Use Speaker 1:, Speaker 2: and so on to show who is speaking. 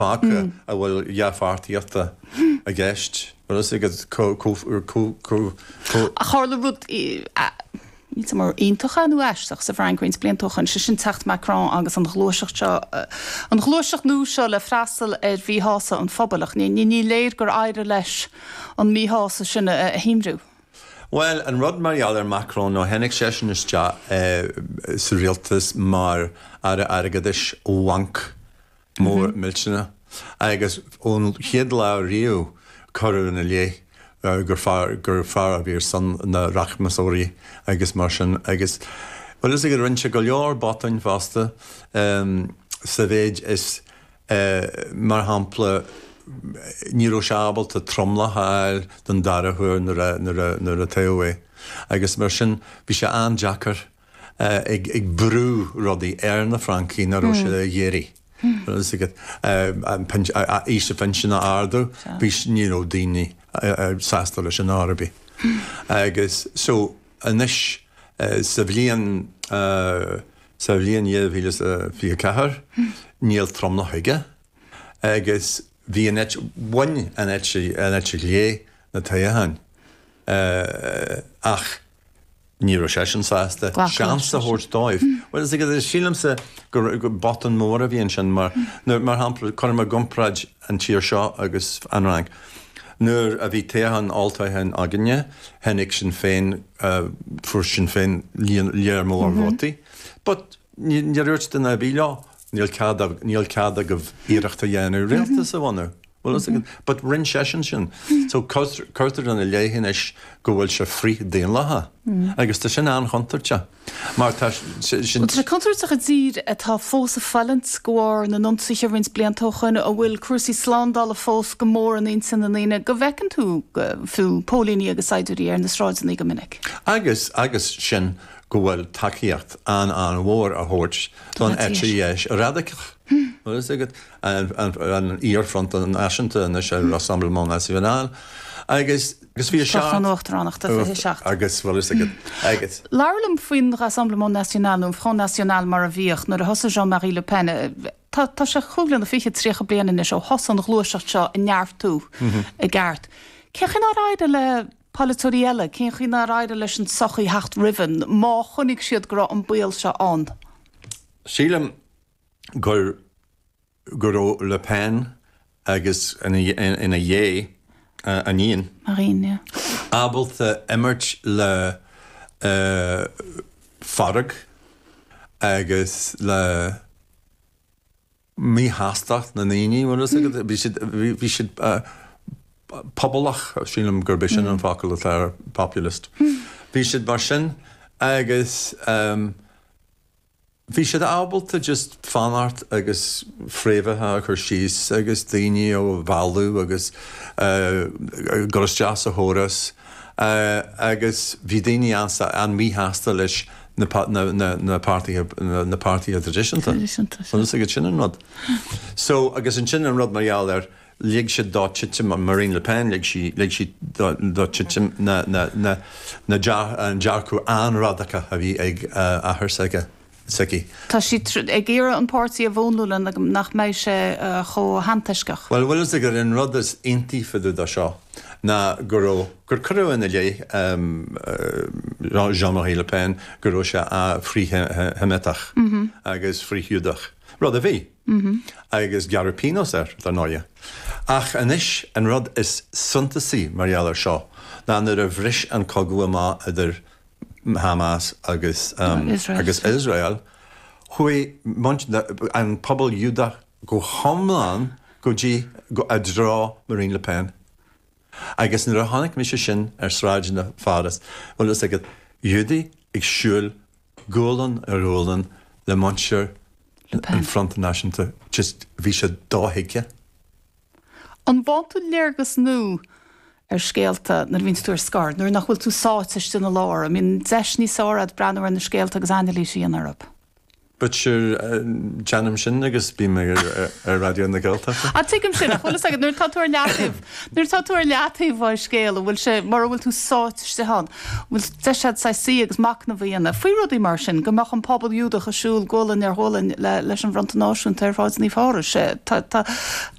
Speaker 1: Fágtha a bhfuil dea-pháirtíochta i gceist. Bhfuil fhios agat
Speaker 2: chomh. Ach tharla rud, níl 'fhios a'm ar iontach é nó aisteach, sa bhFrainc roinnt blianta ó shoin, sé sin teacht Macron agus an ghluaiseacht seo, an ghluaiseacht nua seo le freastal ar mhíshásamh an phobail ach ní léir gur éirigh leis an míshásamh sin a shuaimhniú.
Speaker 1: Bhuel, an rud mar gheall ar Macron ná tháinig seisean isteach sa rialtas mar Aire Airgeadais ó bhanc mór millteanach agus ón chéad lá riamh cuireadh ina leith gur fear gur fear a bhí ar son na rachmasóirí agus mar sin agus bhfuil fhios agat rinne sé go leor botúin fosta sa mhéid is mar shampla ní raibh sé ábalta tromlach a fháil don dara huair nuair a nuair a nuair a toghadh é agus mar sin bhí sé an-deacair ag brú rudaí ar na Francaigh nach raibh siad ag iarraidh. Bhfuil fhios agat, aois an phinsin a ardú, bhí, ní raibh daoine sásta leis sin ar chor ar bith. Agus so anois sa bhliain, sa bhliain 2024 níl tromlach aige agus bhí an eite, bhain an eite, an eite chlé na toghcháin ach Ní raibh seisean sásta seans a thabhairt dóibh. Bhuel, is agat, sílimse gur botún mór a bhí ansin mar, mar shampla, cuirim i gcomparáid an tír seo agus an Fhrainc. Nuair a bhí toghchán, olltoghchán againne, tháinig Sinn Féin, fuair Sinn Féin líon léar mór vótaí. But níor dhúirt duine ar bith leo, níl cead, níl cead agaibh iarracht a dhéanamh rialtas a bhunú. Bhfuil fhios agat? But rinne seisean sin. So cuirtear ina leith anois go bhfuil sé frith-daonlathach. Agus tá sin an-chontúirteach. Mar tá
Speaker 2: sin. Bhuel, tá sé contúirteach i dtír atá fós ag fulaingt de bharr na n-ionsaithe roinnt blianta ó shoin, a bhfuil cúrsaí slándála fós go mór in intinn na ndaoine, go bhfeiceann tú fiú póilíní agus saighdiúirí ar na sráideanna go minic.
Speaker 1: Agus, agus sin go bhfuil tacaíocht an-an-mhór á thabhairt don eite dheis radacach. Bhfuil fhios agat? an iar-Fronta Náisiúnta anois ar Rassemblement National agus agus bhí a
Speaker 2: Toghchán na hUachtaránachta 27.
Speaker 1: Agus bhfuil fhios agat
Speaker 2: agus. Labhair liom faoin Rassemblement National nó an Front National mar a bhíodh nuair a thosaigh Jean-Marie Le Pen. Tá tá sé cúig bliana fichead, 30 bliain anois ó thosaigh an ghluaiseacht seo ag neartú i gceart. Cén chaoi nár éirigh le polaiteoirí eile, cén chaoi nár éirigh leis an tsochaí theacht roimhe má chonaic siad go raibh an baol seo ann?
Speaker 1: Sílim gur go raibh Le Pen agus ina dhiaidh a iníon
Speaker 2: Marine, yeah.
Speaker 1: ábalta imirt le fearg agus le míshástacht na ndaoine, bhfuil fhios agat, bhí siad, bhí siad pobalach, sílim gurb é sin an focal atá ar populist. Bhí siad mar sin agus Bhí siad ábalta just fanacht agus fréamhacha a chur síos agus daoine a mhealladh agus dul isteach sa chóras agus bhí daoine an-mhíshásta leis na páirtithe na páirtithe traidisiúnta. Bhfuil fhios agat sin an rud. So agus ansin an rud mar gheall ar lig siad dó titim Marine Le Pen lig sí lig sí dó titim na na na na an dearcadh an-radacach a bhí ag athair s'aige
Speaker 2: s'aici. Tá sí ag iarraidh an páirtí a mhúnlú le nach mbeidh sé chomh hantoisceach.
Speaker 1: Bhuel, bhfuil fhios agat an rud is iontaí fá dtaobh de seo ná go raibh, gur cuireadh ina leith Jean-Marie Le Pen go raibh sé frith-Sheimitach agus frith-Ghiúdach, rud a bhí. Agus gearradh pionós air, dar ndóighe. Ach anois, an rud is suntasaí mar gheall air seo ná nuair a bhris an cogadh amach idir Hamas agus agus Iosrael, chuaigh an pobal Giúdach go hiomlán go dtí i dtreo Marine Le Pen. Agus nuair a chonaic mise sin ar sráideanna Pháras, bhfuil fhios agat, Giúdaigh ag siúl gualainn ar ghualainn le muintir an Fronta Náisiúnta, just bhí sé dothuigthe.
Speaker 2: An bhfaigheann tú léargas nua ar scéalta nuair a bhíonns tú ar scor, nuair nach bhfuil tú sáite istigh ina lár? An mbíonn deis níos fearr agat breathnú ar na scéalta agus anailís a dhéanamh orthu?
Speaker 1: But sure, déanaim sin agus bím ar Raidió na Gaeltachta.
Speaker 2: Ah, tuigim sin, ach bhfuil fhios agat, nuair atá tú ar leataobh, nuair atá tú ar leataobh ón scéal, an bhfuil sé, mura bhfuil tú sáite istigh ann, an bhfuil deis agat saghas suí agus machnamh a dhéanamh faoi rudaí mar sin, go mbeadh an pobal Iúdach ag siúl gualainn ar ghualainn leis an bhFronta Náisiúnta ar Shráid Naomh Phárais. Tá, tá.